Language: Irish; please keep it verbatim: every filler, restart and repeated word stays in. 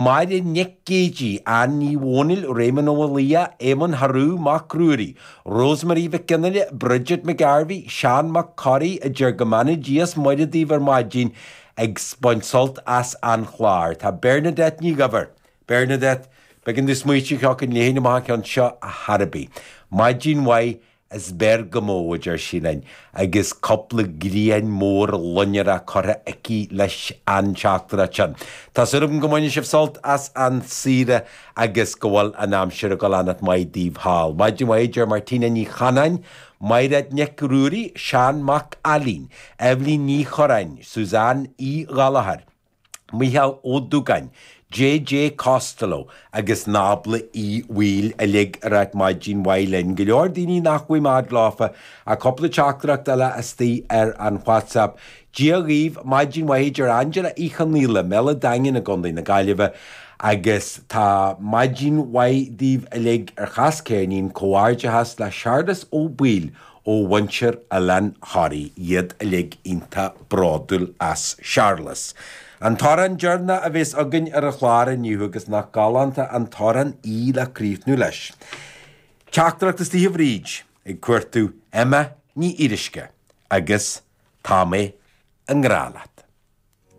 Máire Nic Géidigh, Ann Ní Dhomhnaill, Réamonn Ó Maolaodha, Éamonn Harú Mac Ruairí, Rosemary Mhic Fhionnaile, Bridget McGarvey, Seán Mac Corraidh, a deir go mbeannaí Dia is Muire daoibh ar maidin ag baint sult as an chlár. Tá Bernadette Ní Dhuibhir. Bernadette, b'éigean domh smaoitiú thiocfainn léi amach an ceann seo a thairbí. Maidin mhaith is beir go mó a deir sí linn, agus cúpla grian mór loinnir curtha aici leis an teachtaireacht sin. Tá súil agam go mbaineann sibh sult as an saoire agus go bhfuil an aimsir ag dul an maith daoibh thall. Maidin mhaith deir Martina Ní Chanáin, Mairéad Nic Ruairí, Seán Mac Ailín, Evelyn Ní Choráin, Suzanne Uí Ghallachair, Michael Ó Dúgáin, JJ Costello agus Nábla Uí Bhaoill uilig ag ráit maidin mhaith linn. Go leor daoine nach bhfuil mad láfa a cúpla teachtaireacht eile istigh ar an WhatsApp. Dia dhaoibh maidin mhaith deir Angela Uí Chonaola, Mela Daingean i gContae na Gaillimhe, agus tá maidin mhaith daoibh uilig ar chas ceirnín comhghairdeachas le Searlas Ó Baoill ó mhuintir Oileán Thoraí iad uilig iontach bródúil as Searlas. An t-amhrán deireanach a bheas againn ar an chlár inniu agus nach galánta an t-amhrán í le críochnú leis. Teachtaireacht istigh a Bhríd ag cuartú Emma Ní Fhíoruisce agus tá mé i ngrá leat.